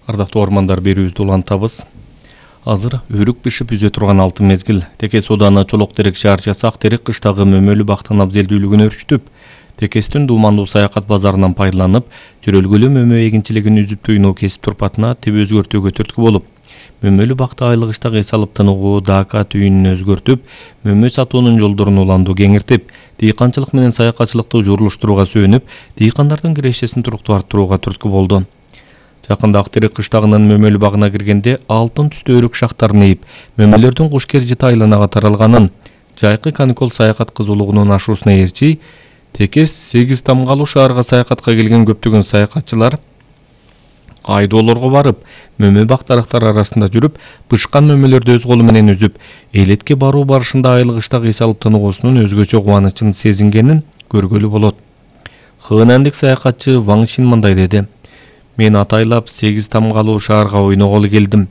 Ардактуу ормандар, берүүбүздү улантабыз. Азыр өрүк бишип үзө турган алтын мезгил. Текес Ооданы Чолок терек шаарчасы Ак терек кыштагы мөмөлүү бактын абзелдүүлүгүн өрчүтүп, Текестин дуумандуу саякат базарынан пайдаланып, жөрөлгөлүү мөмө эгинчилигин үзүп туйноо кесип турпатына теб өзгөртүүгө түрткү болуп, мөмөлүү бакта айлык иштак эс алып тыныгуу дака түйүнүн өзгөртүп, мөмө сатуунун жолдорун уланду кеңиртип, дыйканчылык менен саякатчылыкты журулуштурууга сүйөнүп, дыйкандардын кирешесин туруктуу арттырууга түрткү болду. Жакында Ак терек кыштагынын мөмөлүү багына киргенде алтын түстүү өрүк шактарын ээп, мөмөлөрдүн куш кержити айланага таралганын, жайкы каникул саякат кызуулугунун ашуусуна ээрчи, Текес 8 тамгалуу шаарга саякатка келген көптөгөн саякатчылар айдоолорго барып, мөмө бак дарактары арасында жүрүп, бышкан мөмөлөрдү өз колу менен үзүп, элетке баруу барышында айлык иштак эс алып тыныгуусунун өзгөчө кубанычын сезингенин көргөлү болот. Хынандык саякатчы Ваң Шин мындай деди: "Мен атайлап 8 тамгалуу шаарга ойноголу келдим.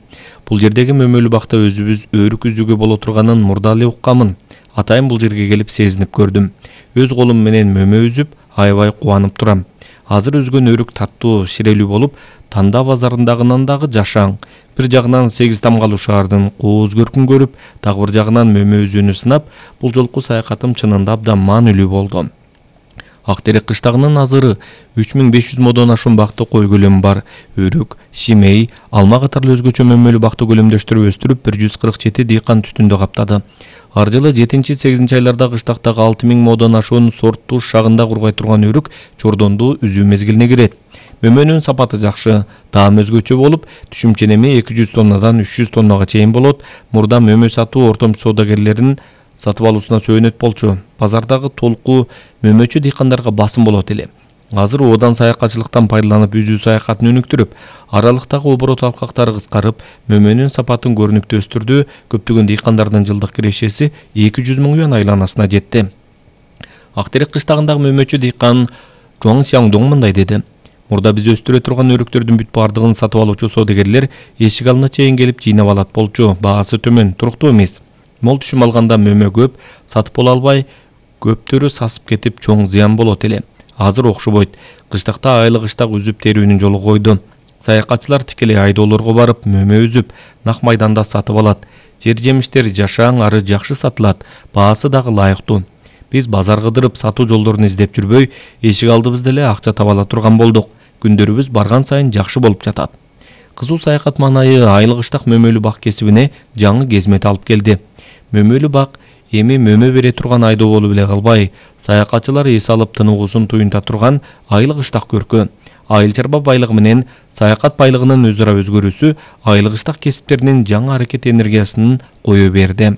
Бул жердеги мөмөлүү бакта өзүбүз өрүк үзүүгө боло турганын мурда эле укканмын. Атайын бул жерге келип сезинип көрдүм. Өз колум менен мөмө үзүп, аябай кубанып турам. Азыр үзгөн өрүк таттуу, ширелүү болуп, Танда базарындагынан дагы жашаң. Бир жагынан 8 тамгалуу шаардын кооз көркүн көрүп, дагы бир жагынан мөмө үзүүнү сынап, бул жолку саякатым чынында абдан маанилүү болду. Ак терек кыштагынын азыры 3500 модон ашуун бакты кой көлөмү бар. Өрүк, шимей, алма катарлуу өзгөчө мөмөлүү бакты көлөмдөштүрүп өстүрүп 147 дыйкан түтүндө каптады. Ар жылы 7-8 айларда кыштактагы 6000 модон ашуун сорттуу шагында кургай турган өрүк чордонду үзүү мезгилине кирет. Мөмөнүн сапаты жакшы, таам өзгөчө болуп, түшүмченеми 200 тоннадан 300 тоннага чейин болот. Мурда мөмө сатуу ортомчу соодагерлерин сатып алуусуна сөөнөт болчу. Базардагы толку мөмөчү дыйкандарга басым болот эле. Азыр одан саякатчылыктан пайдаланып үзүү саякатын өнүктүрүп, аралыктагы оборот алкактары кыскарып, мөмөнүн сапатын көрүнүктүү өстүрдү. Көптөгөн дыйкандардын жылдык кирешеси 200 000 юан айланасына жетти. Ак терек кыштагындагы мөмөчү дыйкан Жуаң Сяңдоң мындай деди: "Мурда биз өстүрө турган өрүктөрдүн бүт бардыгын сатып алуучу соодагерлер эшик алдына чейин келип жыйнап алат болчу. Баасы төмөн, туруктуу эмес. Мол түшүм алганда мөмө көп, сатып боло албай, көптөрү сасып кетип, чоң зыян болот эле. Азыр окшобойт. Кыштакта айлык иштак үзүп терүүнүн жолу койду. Саякатчылар тикелей айдоолорго барып, мөмө үзүп, нак майданда сатып алат. Жер жемиштер жашаң, ары жакшы сатылат, баасы дагы ылайыктуу. Биз базар кыдырып, сатуу жолдорун издеп жүрбөй, эшик алдыбызда эле акча таба ала турган болдук. Күндөрүбүз барган сайын жакшы болуп жатат." Кызуу саякат маанайы айлык иштак мөмөлүү бак кесибине жаңы кезмет алып келди. Мөмөлүү бак эми мөмө бере турган айдоо болуп эле калбай, саякатчылар эс алып тыныгуусун туюнта турган айлык иштак көркө. Айыл чарба байлыгы менен саякат байлыгынын өз ара өзгөрүүсү айлык иштак кесиптеринин жаңы аракет энергиясын кое берди.